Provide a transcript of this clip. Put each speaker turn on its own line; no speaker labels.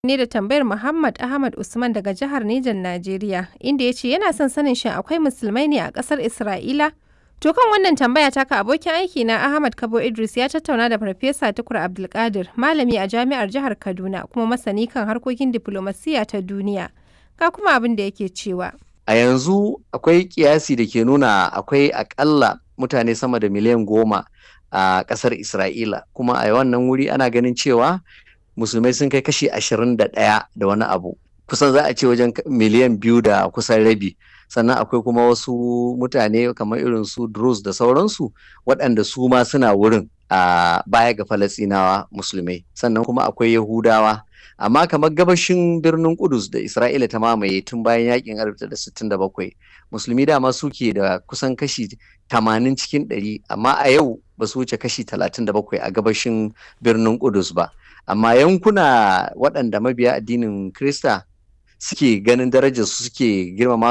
Ne da tambayar Muhammad Ahmad Usman daga jihar Nejan Najeriya, inda ya ce yana son sanin shin akwai musulmai ne a ƙasar Isra'ila? To kan wannan tambaya taka abokin aiki na Ahmad Kabo Idris ya tattauna da Farfesa Tukur Abdulkadir, malami a jami'ar jihar Kaduna kuma masani kan harkokin diflomasiyya ta duniya. Ga kuma abin da yake cewa.
A yanzu akwai kiyasi da ke nuna akwai akalla mutane sama da miliyan 10 a ƙasar Isra'ila, kuma a wannan wuri ana ganin cewa musulmai sun kai kashi 21 da wani abu, kusan za a ce wajen miliyan 2 da kusan rabi. Sannan akwai kuma wasu mutane kamar irin su Druze da sauransu, waɗanda su ma suna wurin a baya ga Falasinawa musulmai. Sannan kuma akwai Yahudawa. Amma kamar gabashin birnin Kudus da Isra'ila ta mamaye tun bayan yakin 1967, musulmi dama suke da kusan kashi 80 cikin 100, amma a yau ba su wuce kashi 37 a gabashin birnin Kudus ba. Amma yankuna waɗanda mabiya addinin Krista suke ganin darajar su, suke girmama.